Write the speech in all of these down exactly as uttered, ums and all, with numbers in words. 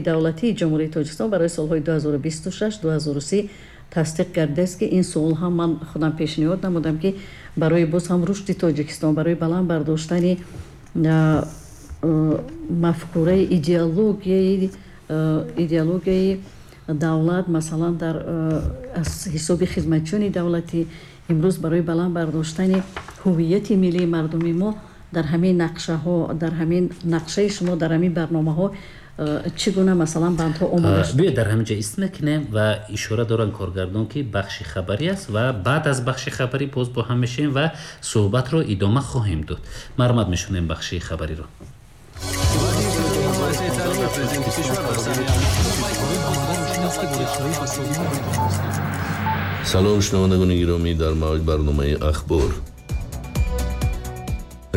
Давлатии Ҷумҳурии Тоҷикистон барои солҳои ду ҳазору бисту шаш ду ҳазору си тасдиқ гардидааст, ки ин суол ҳам ман худам пешниҳод намудам, ки барои боз ҳам рушди Тоҷикистон, барои баланд бардоштани мафкураи идеологияи идеологияи давлат, масалан, дар аз ҳисоби хизматчиёни давлатӣ имрӯз барои баланд бардоштани ҳуввияти миллии мардуми мо дар ҳамин нақшаҳо, дар ҳамин нақшаи шумо, дар ҳамин барномаҳо чӣ гуна, масалан, бандҳо омода шуд? Биёед, дар ҳамин ҷо ист мекунем ва ишора доранд коргардон, ки бахши хабарӣ аст ва баъд аз бахши хабарӣ боз бо ҳам мешавем ва суҳбатро идома хоҳем дод. Марҳамат, мешунавем бахши хабариро. Салом, шунавандагони гиромӣ, дар мавҷ барномаи «Ахбор».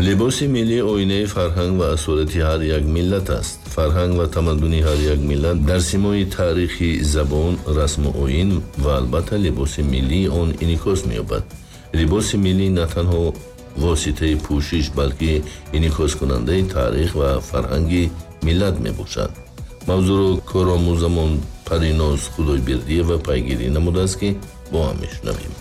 Либоси миллӣ оинаи фарҳанг ва асолати ҳар як миллат аст. Фарҳанг ва тамаддуни ҳар як миллат дар симои таърихи забон, расму оин ва албатта либоси миллии он инъикос меёбад. Либоси миллӣ на танҳо воситаи пӯшиш, балки инъикоскунандаи таърих ва фарҳанги миллат мебошад. Мавзӯъро коромӯзамон Париноз Худойбердиева пайгирӣ намудааст, ки бо ҳам мешунавем.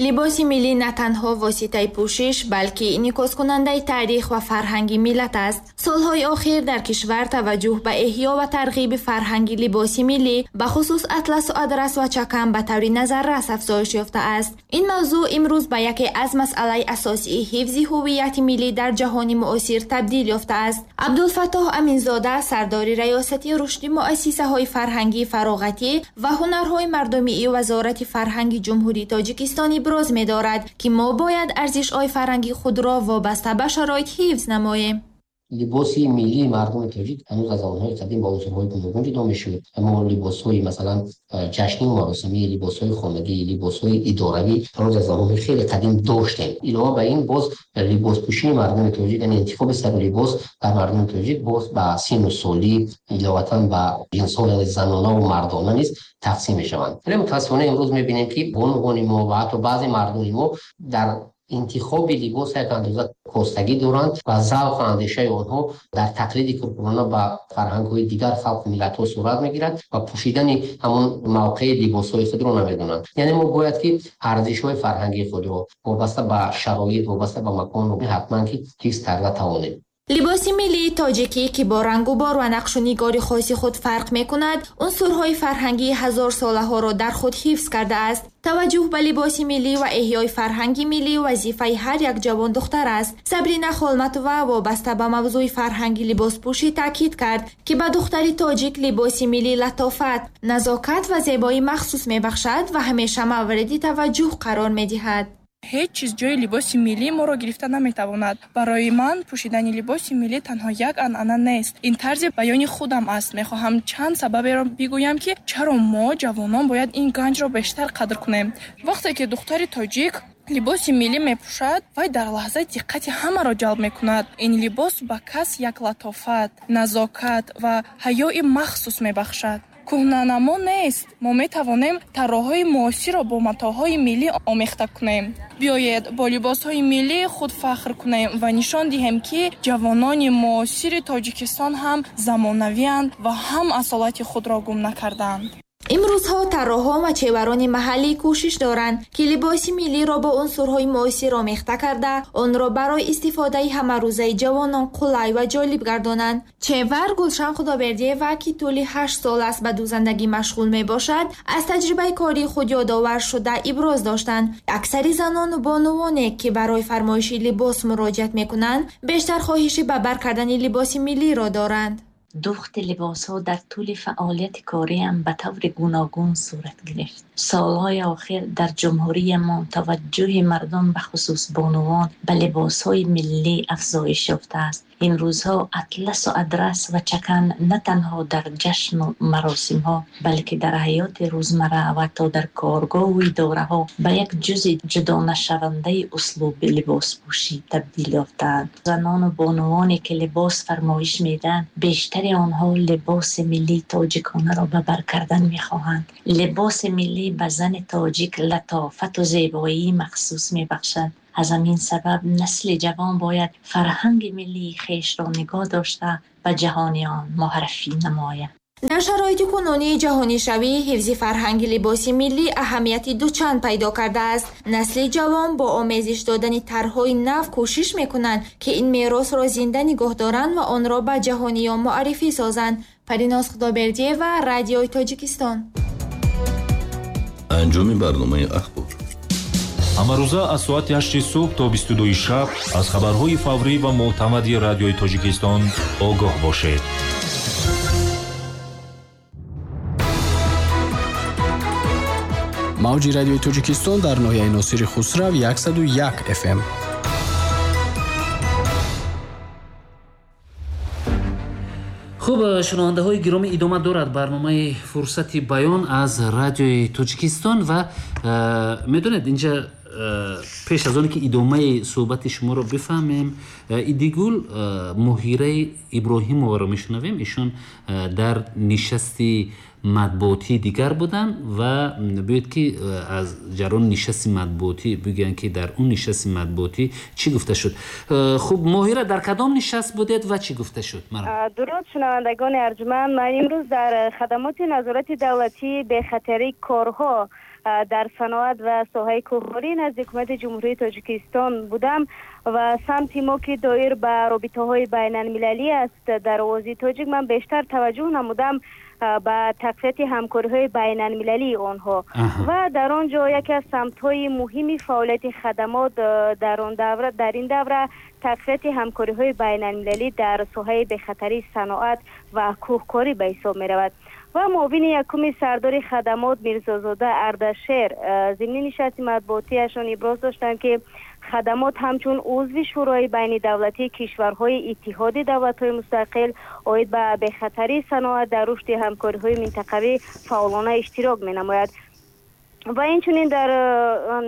Либоси миллӣ на танҳо воситаи пӯшиш, балки инъикоскунандаи таърих ва фарҳанги миллат аст. Солҳои охир дар кишвар таваҷҷӯҳ ба эҳё ва тарғиби фарҳанги либоси миллӣ, ба хусус атласу адрас ва чакан, ба таври назаррас афзоиш ёфтааст. Ин мавзӯъ имрӯз ба яке аз масъалаи асосии ҳифзи ҳуввияти миллӣ дар ҷаҳони муосир табдил ёфтааст. Абдулфаттоҳ Аминзода, сардори Раёсати рушди муассисаҳои фарҳангӣ, фароғатӣ ва ҳунарҳои мардумии Вазорати фарҳанги Ҷумҳурии Тоҷикистон иброз медорад, ки мо бояд арзишҳои фарҳанги худро вобаста ба шароит ҳифз намоем. Либоси миллии мардуми тоҷик ҳанӯз аз замонҳои қадим ба унсурҳои гуногун ҷудо мешуд. Мо либосҳои, масалан, ҷашнию маросимӣ, либосҳои хонагӣ, либосҳои идоравӣ ҳанӯз аз замонҳои хеле қадим доштем. Илова ба ин, боз либоспӯшии мардуми тоҷик, яъне интихоби сару либос дар мардуми тоҷик боз ба сину солӣ, иловатан ба ҷинсҳо, яъне занонаву мардона низ тақсим мешаванд. Вале мутаассифона имрӯз мебинем, ки бонувони мо ва ҳатто баъзе мардони мо дар интихоби либос як андоза костагӣ доранд ва завқу андешаи онҳо дар тақлиди куркурона ба фарҳангҳои дигар халқу миллатҳо сурат мегирад ва пӯшидани ҳамон мавқеи либосҳои худро намедонанд. Яъне мо бояд ки арзишҳои фарҳангии худро вобаста ба шароит, вобаста ба макон ҳатман ки ҳифз карда тавонем. Либоси миллии тоҷикӣ, ки бо рангу бор ва нақшу нигори хоси худ фарқ мекунад, унсурҳои фарҳангии ҳазорсолаҳоро дар худ ҳифз кардааст. Таваҷҷӯҳ ба либоси миллӣ ва эҳёи фарҳанги миллӣ вазифаи ҳар як ҷавондухтар аст. Сабрина Холматова вобаста ба мавзӯи фарҳанги либоспӯшӣ таъкид кард, ки ба духтари тоҷик либоси миллӣ латофат, назокат ва зебоии махсус мебахшад ва ҳамеша мавриди таваҷҷӯҳ қарор медиҳад. Ҳеҷ чиз ҷои либоси миллии моро гирифта наметавонад. Барои ман пӯшидани либоси миллӣ танҳо як анъана нест. Ин тарзи баёни худам аст. Мехоҳам чанд сабаберо бигӯям, ки чаро мо, ҷавонон, бояд ин ганҷро бештар қадр кунем. Вақте ки духтари тоҷик либоси миллӣ мепӯшад, вай дар лаҳза диққати ҳамаро ҷалб мекунад. Ин либос ба кас як латофат, назокат ва ҳаёи махсус мебахшад. Кӯҳнанамо нест. Мо метавонем тарроҳҳои муосирро бо матоъҳои миллӣ омехта кунем. Биёед, бо либосҳои миллии худ фахр кунем ва нишон диҳем, ки ҷавонони муосири Тоҷикистон ҳам замонавианд ва ҳам асолати худро гум накардаанд. Имрӯзҳо тарроҳон ва чеварони маҳаллӣ кӯшиш доранд, ки либоси миллиро бо унсурҳои муосир омехта карда, онро барои истифодаи ҳамарӯзаи ҷавонон қулай ва ҷолиб гардонанд. Чевар Гулшан Худобердиева, ки тӯли ҳашт сол аст ба дӯзандагӣ машғул мебошад, аз таҷрибаи кории худ ёдовар шуда иброз доштанд: аксари занону бонувоне, ки барои фармоиши либос муроҷиат мекунанд, бештар хоҳиши ба бар кардани либоси миллиро доранд. Дӯхти либосҳо дар тӯли фаъолияти кориам ба таври гуногун сурат гирифт. Солҳои охир дар ҷумҳуриямон таваҷҷӯҳи мардум, бахусус бонувон, ба либосҳои миллӣ афзоиш ёфтааст. Ин рӯзҳо атласу адрас ва чакан на танҳо дар ҷашну маросимҳо, балки дар ҳаёти рӯзмарра ва ҳатто дар коргоҳу идораҳо ба як ҷузъи ҷудонашавандаи услуби либоспӯшӣ табдил ёфтаанд. Занону бонувоне, ки либос фармоиш медиҳанд, бештари онҳо либоси миллии тоҷиконаро ба бар кардан мехоҳанд. Либоси миллӣ ба зани тоҷик латофату зебоии махсус мебахшад. Аз ҳамин сабаб насли ҷавон бояд фарҳанги миллии хешро нигоҳ дошта, ба ҷаҳониён муаррифӣ намояд. Дар шароити кунунии ҷаҳонишавӣ ҳифзи фарҳанги либоси миллӣ аҳамияти дучанд пайдо кардааст. Насли ҷавон бо омезиш додани тарҳҳои нав кӯшиш мекунанд, ки ин меросро зинда нигоҳ доранд ва онро ба ҷаҳониён муаррифӣ созанд. Париноз Худобердиева, Радиои Тоҷикистон. Анҷоми барномаи ахбор. Ҳамарӯза аз соати ҳашти субҳ то бисту дуи шаб аз хабарҳои фаврӣ ва мӯътамади Радиои Тоҷикистон огоҳ бошед. Мавҷи Радиои Тоҷикистон дар ноҳияи Носири Хусрав яксаду як эф эм. Хуб, шунавандаҳои гиромӣ, идома дорад барномаи Фурсати баён аз Радиои Тоҷикистон ва медонед, инҷа пеш аз оне ки идомаи суҳбати шуморо бифаҳмем, Идигул Муҳираи Иброҳимоваро мешунавем. Ишон дар нишасти матбуотии дигар буданд ва биёед ки аз ҷараёни нишасти матбуотӣ бигӯянд, ки дар он нишасти матбуотӣ чӣ гуфта шуд. Хуб, Моҳира, дар кадом нишаст будед ва чӣ гуфта шуд? Дуруд шунавандагони арҷманд. Ман имрӯз дар хадамоти назорати давлатии бехатарии корҳо дар саноат ва соҳаи кӯҳворӣ назди ҳукумати Ҷумҳурии Тоҷикистон будам ва самти мо ки доир ба робитаҳои байналмилалӣ аст дар овози тоҷик, ман бештар таваҷҷӯҳ намудам ба тақвияти ҳамкориҳои байналмилалии онҳо ва дар он ҷо яке аз самтҳои муҳими фаъолияти хадамот дар он давра, дар ин давра тақвияти ҳамкориҳои байналмилалӣ дар соҳаи бехатарии саноат ва кӯҳкорӣ ба ҳисоб меравад. Ва муовини якуми сардори хадамот Мирзозода Ардашер зимни нишасти матбуотиашон иброз доштанд, ки хадамот ҳамчун узви Шӯрои байнидавлатии кишварҳои Иттиҳоди давлатҳои мустақил оид ба бехатарии саноат дар рушди ҳамкориҳои минтақавӣ фаъолона иштирок менамояд. Ва инчунин дар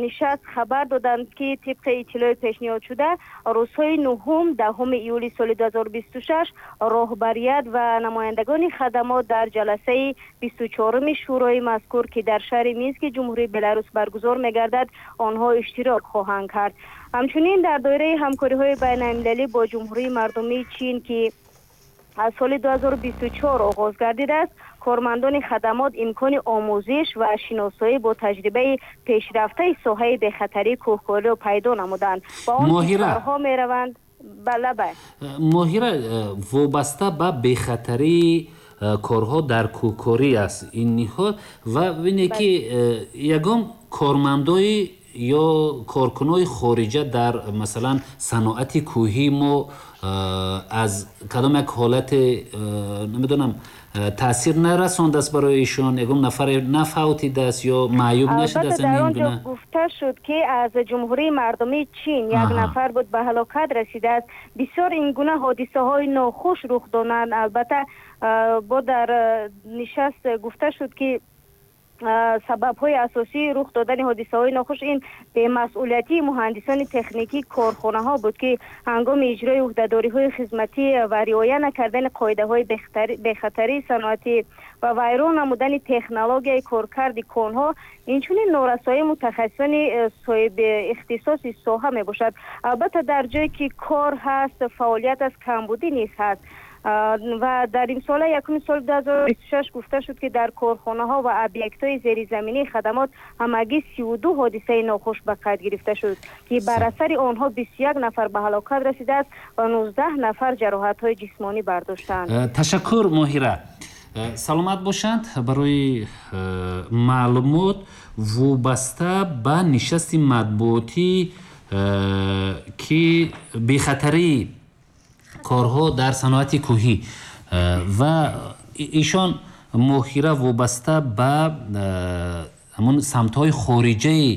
нишаст хабар доданд, ки тибқи иттилои пешниҳодшуда рӯзҳои нуҳум даҳуми июли соли ду ҳазору бисту шаш роҳбарият ва намояндагони хадамот дар ҷаласаи бисту чоруми шӯрои мазкур, ки дар шаҳри Мински Ҷумҳурии Беларус баргузор мегардад, онҳо иштирок хоҳанд кард. Ҳамчунин дар доираи ҳамкориҳои байналмилалӣ бо Ҷумҳурии Мардумии Чин, ки аз соли ду ҳазору бисту чор оғоз гардидааст, кормандони хадамот имкони омӯзиш ва шиносоӣ бо таҷрибаи пешрафтаи соҳаи бехатарии кӯҳкориро пайдо намуданд ва он кишварҳо мераванд. Бале, Моҳира, вобаста ба бехатарии корҳо дар кӯҳкорӣ аст ин ниҳод ва бинед, ки ягон кормандои ё коркунои хориҷа дар масалан саноати кӯҳии мо аз кадом як ҳолате намедонам таъсир нарасондааст барои ишон, ягон нафаре нафавтидааст ё маъюб нашудааст? Дар он ҷо гуфта шуд, ки аз Ҷумҳурии Мардумии Чин як нафар буд ба ҳалокат расидааст. Бисёр ин гуна ҳодисаҳои нохуш рух доданд. Албатта бо дар нишаст гуфта шуд, ки сабабҳои асосии рух додани ҳодисаҳои нохуш ин бемасъулиятии муҳандисони техникии корхонаҳо буд, ки ҳангоми иҷрои ӯҳдадориҳои хизматӣ ва риоя накардани қоидаҳои бехатарии саноатӣ ва вайрон намудани технологияи коркарди конҳо, инчунин норасоии мутахассисони соҳиби ихтисоси соҳа мебошад. Албатта дар ҷое ки кор ҳаст, фаъолият аст, камбудӣ низ ҳаст. Ва дар имсола якуми соли ду ҳазору бисту шаш гуфта шуд, ки дар корхонаҳо ва объектҳои зеризаминии хадамот ҳамагӣ сию ду ҳодисаи нохуш ба қайд гирифта шуд, ки бар асари онҳо бисту як нафар ба ҳалокат расидааст ва нуздаҳ нафар ҷароҳатҳои ҷисмонӣ бардоштанд. Ташаккур, Моҳира. Саломат бошанд. Барои маълумот вобаста ба нишасти матбуотӣ, ки бехатарии корҳо дар саноати кӯҳӣ ва ишон Моҳира вобаста ба ҳамон самтҳои хориҷаи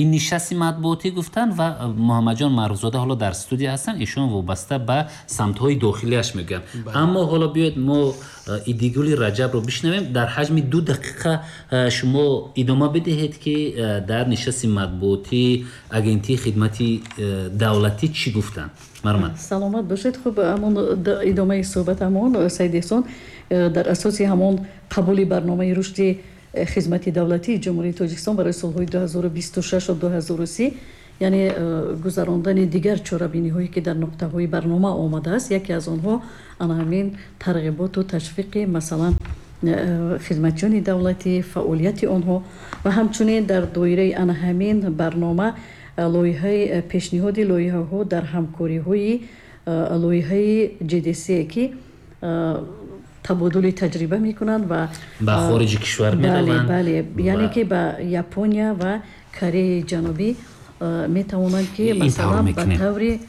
ин нишасти матбуотӣ гуфтанд ва Муҳаммадҷон Маъруфзода ҳоло дар студия ҳастанд, ишон вобаста ба самтҳои дохилиаш мегӯянд. Аммо ҳоло биёед мо Идигули Раҷабро бишнавем. Дар ҳаҷми ду дақиқа шумо идома бидиҳед, ки дар нишасти матбуотӣ агентии хидмати давлатӣ чӣ гуфтанд. Мармат, саломат бошед. Хуб, ҳамон идомаи суҳбат ҳамон Саид Эҳсон дар асоси ҳамон қабули барномаи рушди хизмати давлатии Ҷумҳурии Тоҷикистон барои солҳои ду ҳазору бисту шаш ва ду ҳазору си Яъне гузарондани дигар чорабиниҳое ки дар нуқтаҳои барнома омадааст, яке аз онҳо ана ҳамин тарғиботу ташвиқи масалан хизматчиёни давлатӣ, фаъолияти онҳо ва ҳамчунин дар доираи ана ҳамин барнома лоиҳаи пешниҳоди лоиҳаҳо дар ҳамкориҳои лоиҳаи J D C ки табодули таҷриба мекунанд ва ба хориҷи кишвар мераванд. Бале, яъне ки ба Япония ва Кореяи Ҷанубӣ метавонанд ки масалан ба таври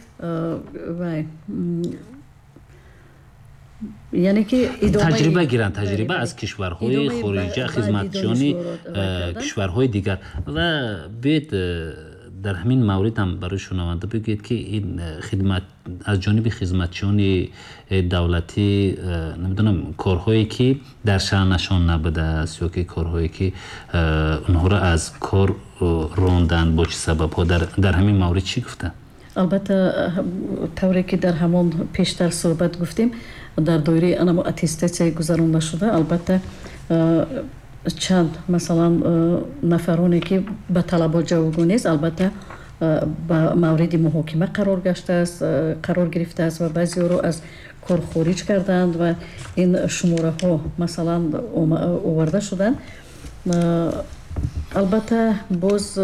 яъне ки таҷриба гиранд, таҷриба аз кишварҳои хориҷа, хизматчиёни кишварҳои дигар. Ва биёед, дар ҳамин маврид ҳам барои шунаванда бигӯед, ки ин хидмат аз ҷониби хизматчиёни давлатӣ, намедонам, корҳое ки дар шаънашон набудааст ё ки корҳое ки онҳоро аз кор ронданд, бо чӣ сабабҳо, дар ҳамин маврид чӣ гуфтанд? Албатта, тавре ки дар ҳамон пештар суҳбат гуфтем, дар доираи анамо аттестатсияи гузаронда шуда, албатта, чанд масалан нафароне ки ба талабот ҷавобгӯ нест, албатта, ба мавриди муҳокима қарор гаштааст, қарор гирифтааст ва баъзеҳоро аз кор хориҷ карданд ва ин шумораҳо масалан оварда шуданд. Албатта, боз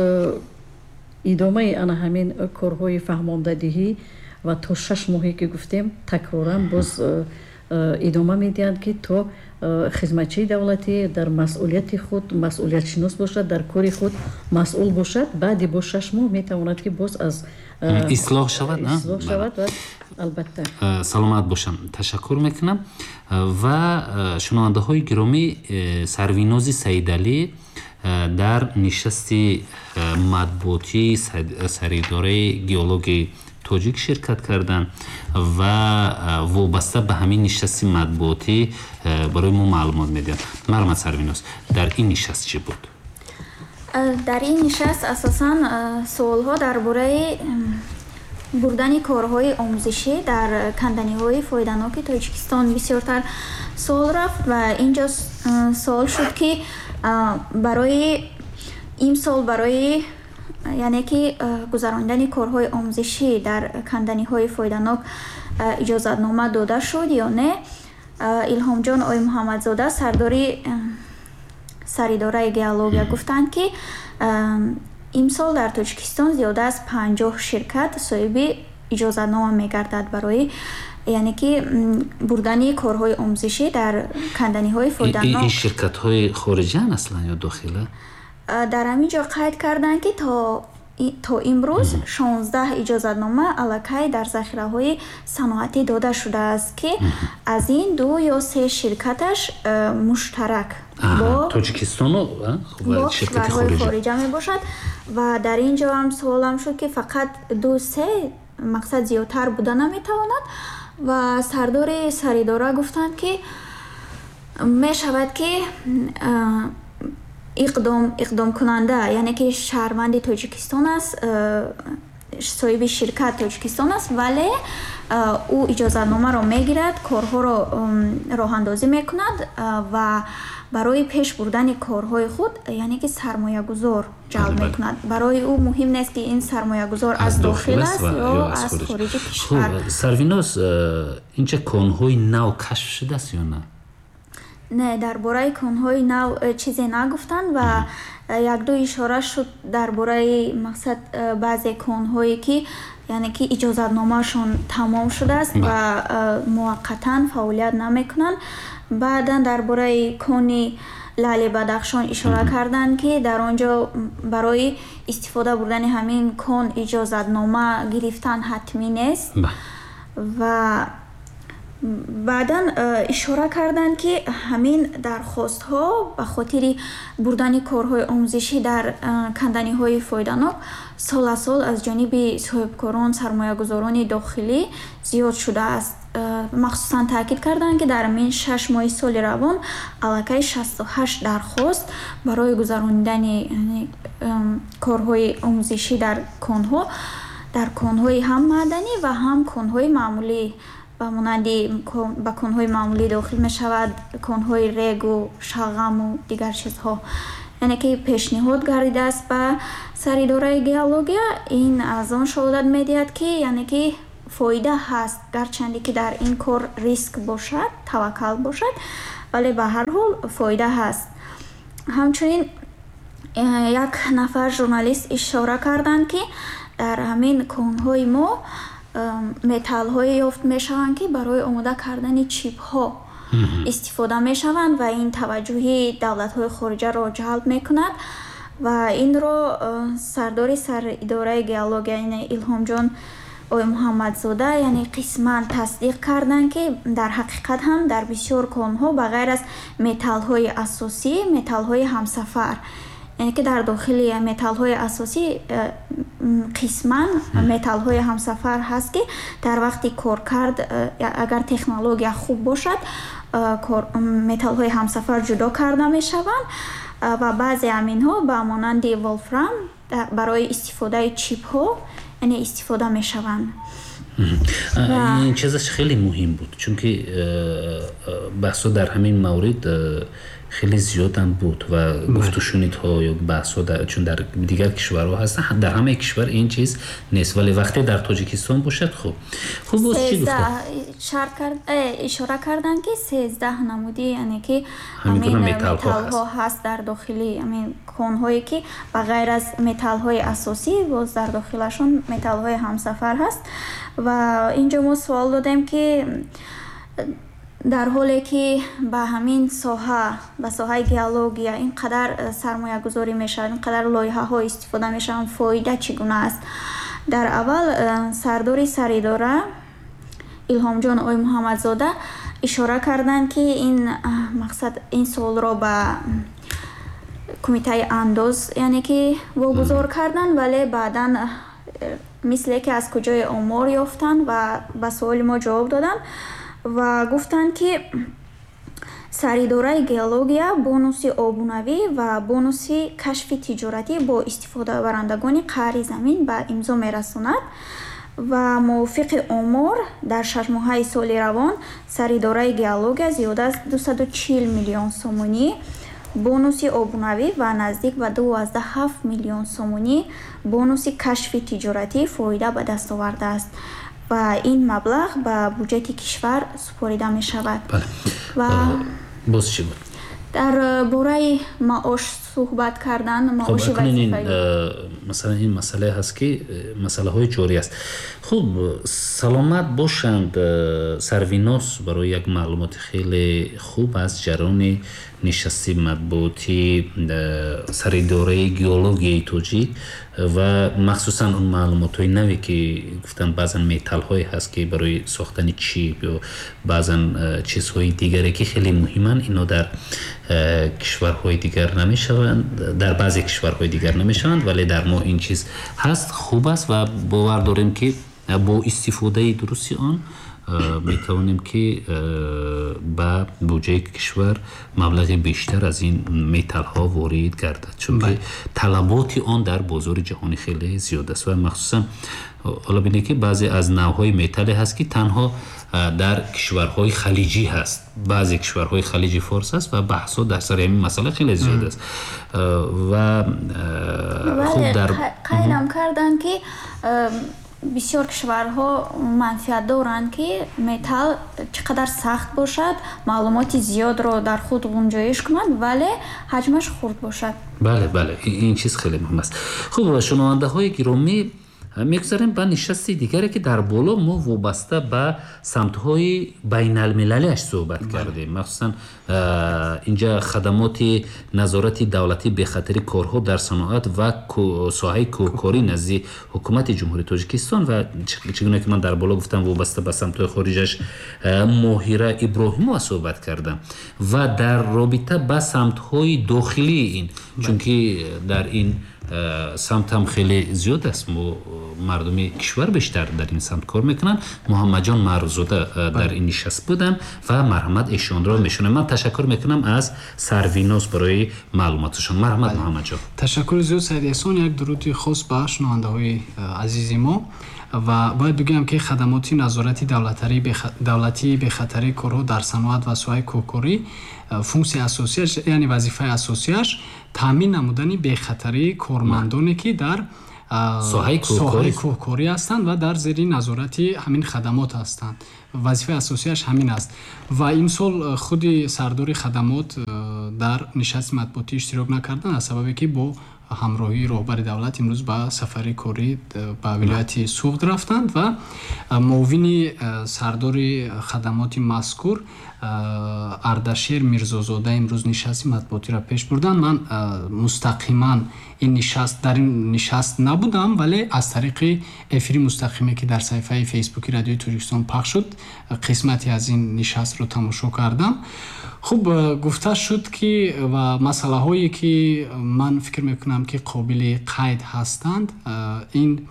идомаи ана ҳамин корҳои фаҳмондадиҳӣ ва то шаш моҳе ки гуфтем, такроран боз идома медиҳанд, ки то хизматчии давлатӣ дар масъулияти худ масъулиятшинос бошад, дар кори худ масъул бошад. Баъди бо шаш моҳ метавонад ки боз аз ислоҳ шавад. Ислоҳ шавад ва албатта. Саломат бошам, ташаккур мекунам. Ва шунавандаҳои гиромӣ, Сарвинози Саидалӣ дар нишасти матбуотии Саридораи геологии тоҷик ширкат карданд ва вобаста ба ҳамин нишасти матбуотӣ барои мо маълумот медиҳанд. Марҳамат, Сарвиноз, дар ин нишаст чӣ буд? Дар ин нишаст асосан суолҳо дар бораи бурдани корҳои омӯзишӣ дар канданиҳои фоиданоки Тоҷикистон бисёртар суол рафт. Ва инҷо суол шуд, ки барои имсол барои яъне ки гузаронидани корҳои омӯзишӣ дар канданиҳои фоиданок иҷозатнома дода шуд ё не. Илҳомҷон Оймуҳаммадзода, сардори Саридораи геология, гуфтанд, ки имсол дар Тоҷикистон зиёда аз панҷоҳ ширкат соҳиби иҷозатнома мегардад барои яъне ки бурдани корҳои омӯзишӣ дар канданиҳои фоиданок. Ин ширкатҳои хориҷиан аслан ё дохила? Дар ҳамин ҷо қайд карданд, ки то то имрӯз шонздаҳ иҷозатнома аллакай дар захираҳои саноатӣ дода шудааст, ки аз ин ду ё се ширкаташ муштарак бо Тоҷикистону бо кишварҳои хориҷа мебошад. Ва дар ин ҷо ҳам суолам шуд, ки фақат ду се, мақсад зиёдтар буда наметавонад? Ва сардори саридора гуфтанд, ки мешавад, ки иқдом иқдомкунанда яъне ки шаҳрванди Тоҷикистон аст, соҳиби ширкат Тоҷикистон аст, вале ӯ иҷозатномаро мегирад, корҳоро роҳандозӣ мекунад ва барои пеш бурдани корҳои худ яъне ки сармоягузор ҷалб мекунад. Барои ӯ муҳим нест, ки ин сармоягузор аз дохил аст ё аз хориҷи кишвар. Сарвиноз, инҷа конҳои нав кашф шудааст ё на? Не, дар бораи конҳои нав э, чизе нагуфтанд ва э, якду ишора шуд дар бораи мақсад э, баъзе конҳое, ки яъне ки иҷозатномаашон тамом шудааст ва муваққатан фаъолият намекунанд. Баъдан дар бораи кони Лаъли Бадахшон ишора карданд, ки дар он ҷо барои истифода бурдани ҳамин кон иҷозатнома гирифтан ҳатмӣ нест. Ва баъдан э, ишора карданд, ки ҳамин дархостҳо ба хотири бурдани корҳои омӯзишӣ дар э, канданиҳои фоиданок сол аз сол аз ҷониби соҳибкорон, сармоягузорони дохилӣ зиёд шудааст. э, махсусан таъкид карданд, ки дар ҳамин шаш моҳи соли равон аллакай шасту ҳашт дархост барои гузаронидани корҳои омӯзишӣ дар конҳо, дар конҳои ҳам маъданӣ ва ҳам конҳои маъмулӣ, ба монанди ба конҳои маъмулӣ дохил мешавад конҳои регу, шалғаму дигар чизҳо, Яъне ки пешниҳод гардидааст ба саридораи геология. Ин аз он шаҳодат медиҳад, ки яъне ки фоида ҳаст, гарчанде ки дар ин кор риск бошад, таваккал бошад, вале ба ҳар ҳол фоида ҳаст. Ҳамчунин як нафар журналист ишора карданд, ки дар ҳамин конҳои мо металлҳое ёфт мешаванд, ки барои омода кардани чипҳо истифода мешаванд ва ин таваҷҷӯҳи давлатҳои хориҷаро ҷалб мекунад. Ва инро сардори саридораи геология, яъне Илҳомҷон Оймуҳаммадзода, яъне қисман тасдиқ карданд, ки дар ҳақиқат ҳам дар бисёр конҳо ба ғайр аз металлҳои асосӣ, металлҳои ҳамсафар, яъне ки дар дохили металлҳои асосӣ қисман металлҳои ҳамсафар ҳаст, ки дар вақти коркард агар технология хуб бошад, металлҳои ҳамсафар ҷудо карда мешаванд ва баъзе аминҳо ба монанди волфрам барои истифодаи чипҳо яъне истифода мешаванд. Ин чизаш хеле муҳим буд, чунки баҳсҳо дар ҳамин маврид хеле зиёдам буд ва гуфтушунидҳо ё баҳсҳо, чун дар дигар кишварҳо ҳастанд, дар ҳамаи кишвар ин чиз нест, вале вақте дар Тоҷикистон бошад хуб. Хуб, боз чӣ гуфта? Ишора карданд, ки сездаҳ намуди, яъне ки ҳамин металлҳо ҳаст дар дохили ҳамин конҳое, ки ба ғайр аз металлҳои асосӣ боз дар дохилашон металлҳои ҳамсафар ҳаст. Ва инҷо мо суол додем, ки дар ҳоле ки ба ҳамин соҳа, ба соҳаи геология ин қадар сармоягузорӣ мешавад, ин қадар лоиҳаҳо истифода мешаванд, фоида чӣ гуна аст? Дар аввал сардори саридора Илҳомҷон Оймуҳаммадзода ишора карданд, ки ин мақсад, ин суолро ба кумитаи андоз, яъне ки вогузор карданд, вале баъдан мисле ки аз куҷое омор ёфтанд ва ба суоли мо ҷавоб доданд ва гуфтанд, ки саридораи геология бонуси обунавӣ ва бонуси кашфи тиҷоратӣ бо истифодабарандагони қаъри замин ба имзо мерасонад ва мувофиқи омор дар шашмоҳаи соли равон саридораи геология зиёда аз дусаду чил миллион сомонӣ бонуси обунавӣ ва наздик ба дувоздаҳ ҳафт миллион сомонӣ бонуси кашфи тиҷоратӣ фоида ба даст овардааст ва ин маблағ ба буҷети кишвар супорида мешавад. Ва боз чӣ буд? Дар бораи маош суҳбат кардан, маоши вазифаӣ. Масалан, ин масъалае ҳаст, ки масъалаҳои ҷорӣ аст. Хуб, саломат бошанд Сарвинос барои як маълумоти хеле хуб аз ҷараёни нишасти матбуотӣ саридораи геологияи тоҷик ва махсусан он маълумотҳои наве, ки гуфтанд баъзан металлҳое ҳаст, ки барои сохтани чип ё баъзан чизҳои дигаре, ки хеле муҳиманд, ино дар кишварҳои дигар намешаванд, дар баъзе кишварҳои дигар намешаванд, вале дар мо ин чиз ҳаст, хуб аст ва бовар дорем, ки бо истифодаи дурусти он метавонем, ки ба буҷаи кишвар маблағи бештар аз ин металлҳо ворид гардад, чунки талаботи он дар бозори ҷаҳонӣ хеле зиёд аст ва махсусан ҳоло бинед, ки баъзе аз навъҳои металле ҳаст, ки танҳо дар кишварҳои халиҷӣ ҳаст, баъзе кишварҳои халиҷи форс аст ва баҳсҳо дар сари ҳамин масъала хеле зиёд аст. Ва хуб, дар қайдам карданд, ки бисёр кишварҳо манфиат доранд, ки металл чӣ қадар сахт бошад, маълумоти зиёдро дар худ гунҷоиш кунад, вале ҳаҷмаш хурд бошад. Бале, бале, ин чиз хеле муҳим аст. Хуб, шунавандаҳои гиромӣ, мегузарем ба нишасти дигаре, ки дар боло мо вобаста ба самтҳои байналмилалиаш суҳбат кардем. Махсусан инҷа хадамоти назорати давлатии бехатари корҳо дар саноат ва соҳаи кӯҳкорӣ назди ҳукумати Ҷумҳурии Тоҷикистон ва чӣ гуна ки ман дар боло гуфтам, вобаста ба самтҳои хориҷаш Моҳира Иброҳимова суҳбат кардам ва дар робита ба самтҳои дохилии ин, чунки дар ин самт ҳам хеле зиёд аст, мо мардуми кишвар бештар дар ин самт кор мекунанд. Муҳаммадҷон Маъруззода дар ин нишаст буданд ва марҳамат эшонро мешунавем. Ман ташаккур мекунам аз Сарвиноз барои маълумоташон. Марҳамат Муҳаммадҷон. Ташаккури зиёд Саид Эҳсон. Як дуруди хос ба шунавандаҳои азизи мо ва бояд бигӯям, ки хадамоти назорати давлатии бехатарии корҳо дар саноат ва соҳаи кӯҳкорӣ функсияи асосияш, яъне вазифаи асосияш Таъмин намудани бехатарии кормандоне, ки дар соҳаи кӯҳкорӣ ҳастанд ва дар зери назорати ҳамин хадамот ҳастанд. Вазифаи асосияш ҳамин аст. Ва имсол худи сардори хадамот дар нишасти матбуотӣ иштирок накарданд, аз сабабе ки бо ҳамроҳии роҳбари давлат имрӯз ба сафари корӣ ба вилояти Суғд рафтанд ва муовини сардори хадамоти мазкур Ардашер Мирзозода имрӯз нишасти матбуотиро пеш бурданд. Ман мустақиман ин нишаст дар ин нишаст набудам, вале аз тариқи эфири мустақиме, ки дар саҳифаи Фейсбуки Радиои Тоҷикистон пахш шуд, қисмате аз ин нишастро тамошо кардам. Хуб, гуфта шуд, ки ва масъалаҳое, ки ман фикр мекунам, ки қобили қайд ҳастанд, ин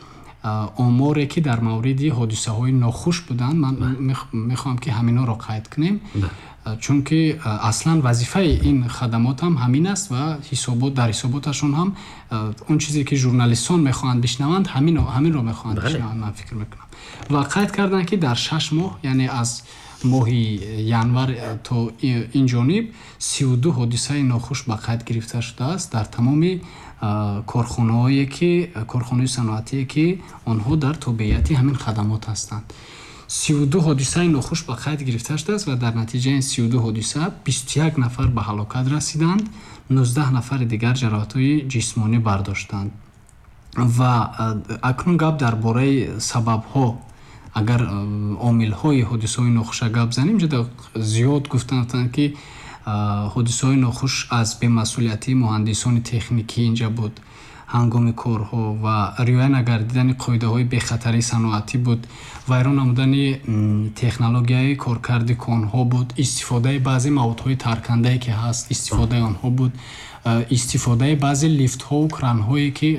оморе, ки дар мавриди ҳодисаҳои нохуш буданд, ман мехоҳам, ки ҳаминҳоро қайд кунем, чунки аслан вазифаи ин хадамот ҳам ҳамин аст ва ҳисобот дар ҳисоботашон ҳам он чизе, ки журналистон мехоҳанд бишнаванд, ҳаминро мехоҳанд бишнаванд, ман фикр мекунам. Ва қайд карданд, ки дар шаш моҳ, яъне аз моҳи январ то ин ҷониб, сию ду ҳодисаи нохуш ба қайд гирифта шудааст дар тамоми корхонаҳое, ки корхонаҳои саноатие, ки онҳо дар тобеияти ҳамин хадамот ҳастанд. Сию ду ҳодисаи нохуш ба қайд гирифта шудааст ва дар натиҷаи сию ду ҳодиса бисту як нафар ба ҳалокат расиданд, нуздаҳ нафари дигар ҷароҳатҳои ҷисмонӣ бардоштанд. Ва акнун гап дар бораи сабабҳо, агар омилҳои ҳодисаҳои нохуша гап занем, ҷуда зиёд гуфтанд, ки ҳодисаҳои нохуш аз бемасъулиятии муҳандисони техникӣ инҷа буд ҳангоми корҳо ва риоя нагардидани қоидаҳои бехатарии саноатӣ буд, вайрон намудани технологияи коркарди конҳо буд, истифодаи баъзе маводҳои таркандае, ки ҳаст, истифодаи онҳо буд, истифодаи баъзе лифтҳову кранҳое, ки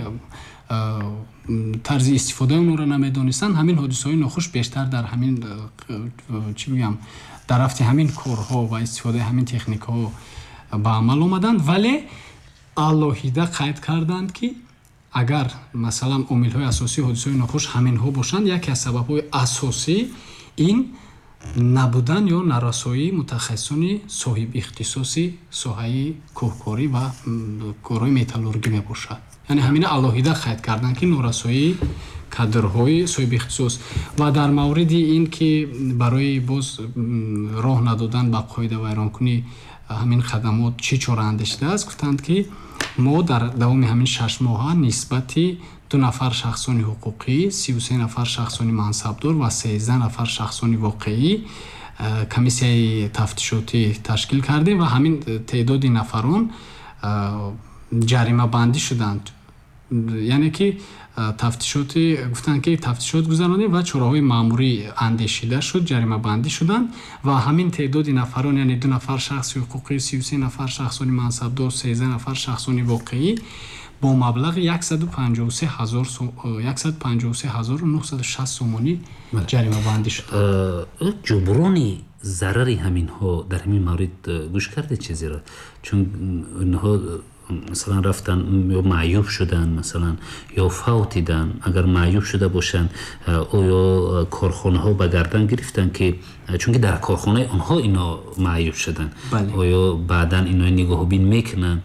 тарзи истифодаи онҳоро намедонистанд. Ҳамин ҳодисаҳои нохуш бештар дар ҳамин, чӣ бигӯям, дар рафти ҳамин корҳо ва истифодаи ҳамин техникаҳо ба амал омаданд. Вале алоҳида қайд карданд, ки агар масалан омилҳои асосии ҳодисаҳои нохуш ҳаминҳо бошанд, яке аз сабабҳои асосӣ ин набудан ё нарасоии мутахассисони соҳибихтисоси соҳаи кӯҳкорӣ ва корҳои металлургӣ мебошад. Яъне ҳамина алоҳида қайд карданд, ки норасоии кадрҳои соҳибихтисос. Ва дар мавриди ин ки барои боз роҳ надодан ба қоидавайронкунӣ ҳамин хадамот чӣ чора андешидааст, гуфтанд, ки мо дар давоми ҳамин шаш моҳа нисбати ду нафар шахсони ҳуқуқӣ, сию се нафар шахсони мансабдор ва сездаҳ нафар шахсони воқеӣ комиссияи тафтишотӣ ташкил кардем ва ҳамин теъдоди нафарон ҷаримабандӣ шуданд. Яъне ки тафтишоти гуфтанд, ки тафтишот гузаронем ва чораҳои маъмурӣ андешида шуд, ҷаримабандӣ шуданд ва ҳамин теъдоди нафарон, яъне ду нафар шахси ҳуқуқӣ, сию се нафар шахсони мансабдор, сездаҳ нафар шахсони воқеӣ бо маблағи яксаду панҷоҳу се ҳазору нуҳсаду шаст сомонӣ ҷаримабандӣ шуданд. Ҷуброни зарари ҳаминҳо дар ҳамин маврид гӯш кардед чизеро? Чун инҳо масалан рафтан ё маъюб шуданд, масалан ё фавтиданд, агар маъюб шуда бошанд, оё корхонаҳо ба гардан гирифтанд, ки чунки дар корхонаи онҳо ино маъюб шуданд, оё баъдан ино нигоҳубин мекунанд,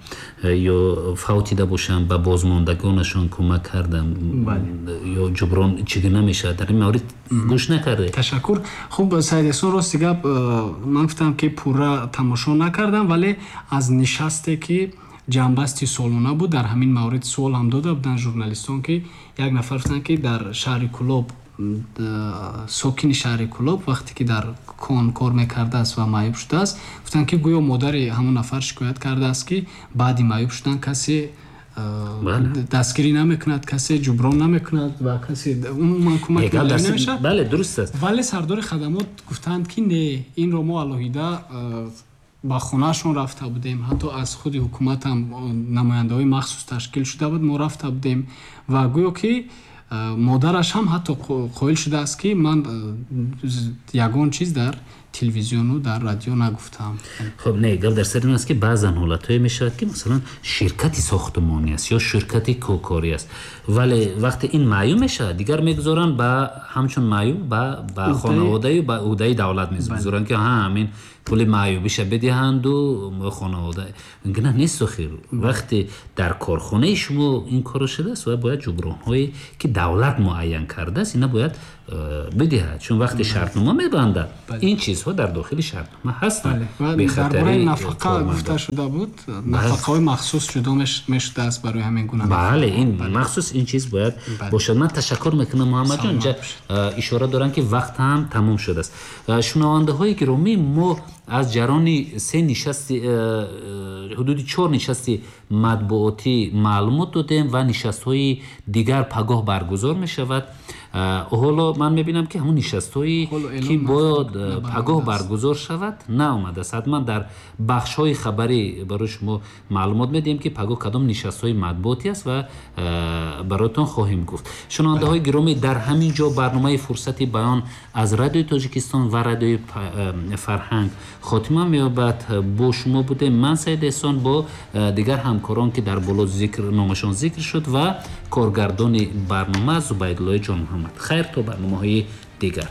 ё фавтида бошанд ба бозмондагонашон кӯмак карданд, ё ҷуброн чӣ гуна мешавад? Дар ин маврид гӯш накардед? Ташаккур. Хуб, Саид Эҳсон, рости гап ман гуфтам, ки пурра тамошо накардам, вале аз нишасте, ки ҷанбасти солона буд, дар ҳамин маврид суол ҳам дода буданд журналистон, ки як нафар гуфтанд, ки дар шаҳри Кӯлоб, сокини шаҳри Кӯлоб вақте ки дар кон кор мекардааст ва маъюб шудааст, гуфтанд, ки гӯё модари ҳамон нафар шикоят кардааст, ки баъди маъюб шудан касе дастгирӣ намекунад, касе ҷуброн намекунад ва касе умуман кӯмак намешавад. Бале, дуруст аст. Вале сардори хадамот гуфтанд, ки не, инро мо алоҳида ба хонаашон рафта будем, ҳатто аз худи ҳукумат ҳам намояндаҳои махсус ташкил шуда буд, мо рафта будем ва гӯё ки модараш ҳам ҳатто қоил шудааст, ки ман ягон чиз дар телевизиону дар радио нагуфтам. Хуб, не, гап дар сари ин аст, ки баъзан ҳолатҳое мешавад, ки масалан ширкати сохтмонӣ аст ё ширкати кӯҳкорӣ аст, вале вақте ин маъюб мешавад, дигар мегузоранд ба ҳамчун маъюб ба ба хонаводаю ба ӯҳдаи давлат мегузоранд, ки ҳа, ҳамин пули маъюбиша бидиҳанду хонавода. Ингуна нест охир. Вақте дар корхонаи шумо ин корро шудааст, ва бояд ҷубронҳое, ки давлат муайян кардааст, ина бояд бидиҳад, чун вақте шартнома мебандад, ин чизҳо дар дохили шартнома ҳастанд. Дар бораи нафақа гуфта шуда буд, нафақаҳои махсус ҷудо мешудааст барои ҳамин гуна. Бале, ин махсус ин чиз бояд бошад. Ман ташаккур мекунам, Муҳаммадҷон. Инҷа ишора дорам, ки вақт ҳам тамом шудааст. Шунавандаҳои гиромӣ, мо аз ҷарони се нишасти, ҳудуди чор нишасти матбуотӣ маълумот додем ва нишастҳои дигар пагоҳ баргузор мешавад. Ҳоло ман мебинам, ки ҳамон нишастҳое, ки бояд пагоҳ баргузор шавад, наомадааст. Ҳатман дар бахшҳои хабарӣ барои шумо маълумот медиҳем, ки пагоҳ кадом нишастҳои матбуотӣ аст ва бароятон хоҳем гуфт. Шунавандаҳои гиромӣ, дар ҳамин ҷо барномаи Фурсати баён аз Радиои Тоҷикистон ва Радиои Фарҳанг хотима меёбад. Бо шумо будем ман, Саид Эҳсон, бо дигар ҳамкорон, ки дар боло зикр номашон зикр шуд, ва коргардони барнома Зубайдуллои Ҷонмуҳаммад. Хайр, то барномаҳои дигар.